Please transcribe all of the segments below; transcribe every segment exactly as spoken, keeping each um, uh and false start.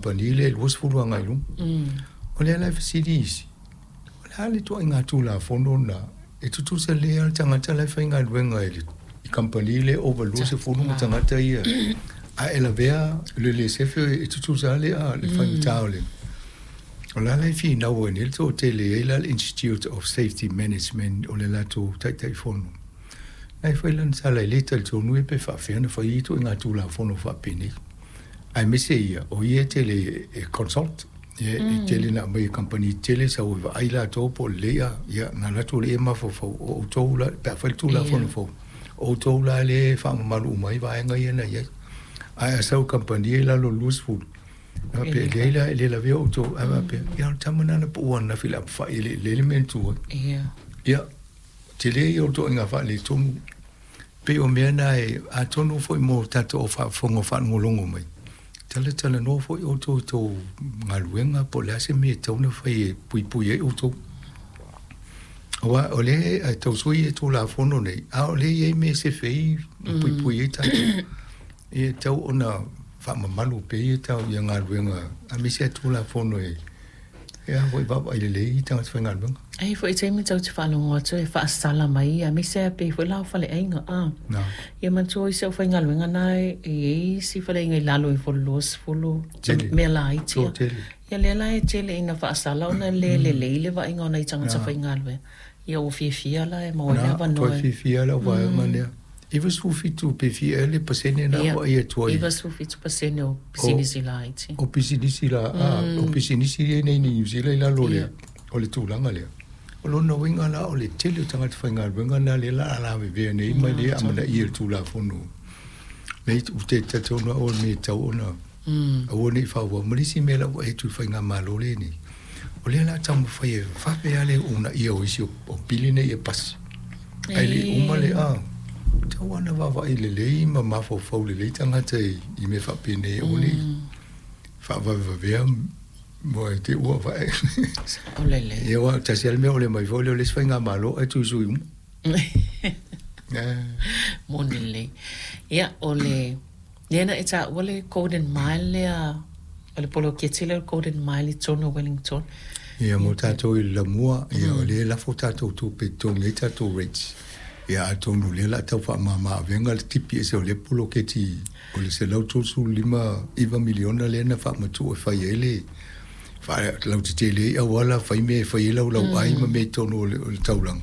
kamupani lea i le luasefulu agai i luga. O lea la e fesili isi, o le a le ituaiga Tulafono lena e tutusa lelei lava le tagata la e faigaluega i le i kamupani lea ova i le luasefulu ma tagata ia a e lavea i le le sefe e tutusa lava le le faigata o le o la la e finau ai nei le toatele e i ai la le Institute of Safety Management o le latou Taitaifono na e fai lana tala e le talitonu ia pe faafefea ona fai ia ituaiga Tulafono faapenei aemaise ia o ia e tele e consult ia e tele na aumai e kamupani tetele sau e vaai latou po o lelei a ia na alu atu lea mafaufau o outou la pe a fai le Tulafono fou o outou la lea e faamamalu uma ai vaega ia na i ai ae a sau i kamupani ia i lalo o le luasefulu e faapea e leai la e le lavea outou ae faapea ia o le tama lena na pau ananafi i le apefai e le i lelei le mea na tu ai ia tele ia o le ituaiga faaletonu pei o mea na e atonu foi mo tatou au faafofoga faalogologo mai talatalanoa foi outou i tou galuega po o le a se mea e tatau ona fai e puipui ai outou. Aua o lea e tau sui le Tulafono nei, a o lea e i ai mea e sefe ai ma puipui ai tatou. E tatau ona faamamalu pea ia tau ia galuega aemaise lava Tulafono e e a foi vaavaai lelei tagata faigaluega. E i ai foi taimi tatou te faalogo atu e faasala mai aemaise lava pei foi la o faleaiga a. Ia manatua isi aufaigaluega na e i ai isi faleaiga i lalo ifo o le luasefulu mea laiti ia. Ia lea la e tele ina faasala ona e le lelei le vaaiga o nai tagata faigaluega. Ia ua fiafia la e maua ai le avanoa. Toe fiafia lau vaega lea. Iva sefulu fitu pe fia ea le pasene na vaai atu ai. Ia, iva sefulu fitu pasene o pisinisi laiti. O pisinisi la, a, o pisinisi ia nei i Niu Sila i lalo o le, o le tulaga lea. O lona uiga la o le tele o tagata faigaluega na lea o le a lavevea nei ma le amanaia i le Tulafono. Nei ou te talitonu au o le mea e tatau ona aua ne i faaauau. Ma le isi mea la ua atu i le faigamalo lenei, o lea o le a taumafai e vave lava le uunaia o isi o pili nei e pasi. Ae le i uma le a, tatau lava ona vaavaai lelei ma mafaufau lelei tagata i mea faapenei aua ne i faavavevavea mo e te ua vae. O lelei. Ia aua tasi lava le mea o le mai foi lea o le isi faigamalo ae tuisui uma. Moni lelei. Ia, o le lea na e taua le Golden Mile lea, o le poloketi lea o le Golden Mile i totonu o Wellington. Ia mo tatou i le lamua, ia o lea e lafo tatou tupe e totogi ai tatou rates. Ia atonu o lea o le a tau faamama avega le tipi ese o lea poloketi o le selau tolusefulu lima iva miliona lea na faamatuu e fai ai le faalautetele ai auala fai mea e fai ai laulauai ma mea i totonu o le, o le taulaga.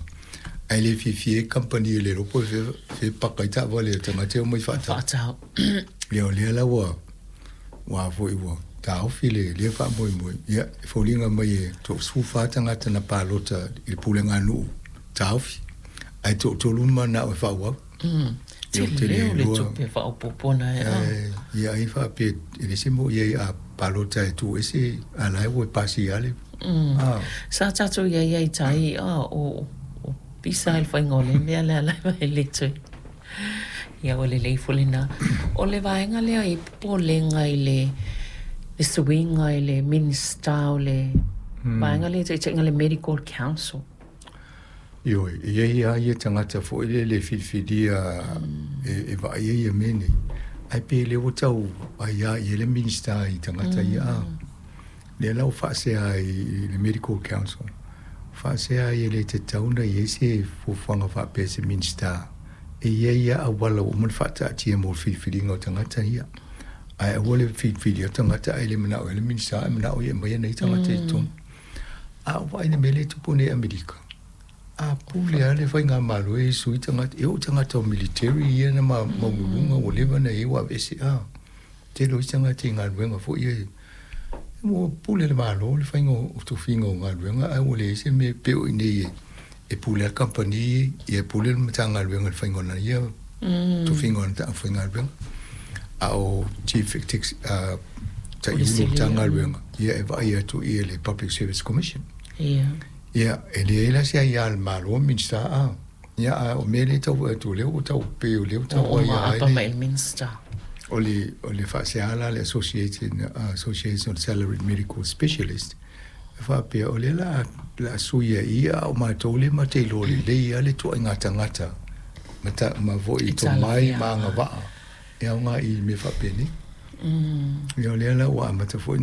Ae le fiafia ai kamupani e le iloa po o fea, fea paka ai taavale a tagata e omai faatau. Faatau. Ia o lea la ua ua foi ua taofi le lea faamoemoe. Ia e foliga mai e toasefulufa tagata na palota i le pulega nuu taofi. Ae toatolu manao e faaauau. Mm. Tele o le tupe faaopoopo na e a. Ia ai faapea e le se mo ia a palota e tu ese a la e ua pasi ale. Mm. Sa tatou i ai ai tai a o o pisa i le faiga o le mea lea la e le toe. Ia ua lelei foi lena. O le vaega lea i popolega i le le suiga i le Minisita o le vaega lea taitaiga le Medical Council. Ioe, e i ai lava ia tagata foi lele e filifilia e, e vaaia ia mea nei. Ae pei lea ua tau aiā i ai le Minisita i tagata ia a. Lea la ua faasea i le Medical Council. Faasea ai e le tatau ona i ai se fuafuaga faapea se Minisita. E i ai lava auala ua uma ona faataatia mo le filifiliga o tagata ia. Ae aua le filifilia o tagata ae le manao ai le Minisita ae manao ia e aumai nai tagata i totonu. A o vaai i le mea lea e tupu nei i Amerika. A pule lava le faigamalo e sui tagata, e oo i tagata o military ia na maualuluga ua leva ona i ai ua aveese a. Tele o isi tagata i galuega foi ia ua pule le Malo le faiga o tofiga o galuega ae ua leai se mea pei o i inei e pule lava le kamupani ia e pule le Matagaluega i le faiga o lana ia tofiga o ana aufaigaluega. A o Chief uh, Taiulu o Matagaluega ia e vaai atu i le Public Service Commission. Ia. Ia, e leai la se aiā a le Malo Minisita a. Ia, a o mea lea e tau atu o lea ua tau pei o lea ua tau aiā ai le mai le Minisita. O le, o le faasea la le Association, uh, Association of Salaried Medical Specialist e faapea o lea la la sui ai ia a o matou lea ma te iloa lelei lava le ituaiga tagata ma, ta, ma foi tomai ma agavaa e aoga i mea faapenei. Ia o lea la ua amata foi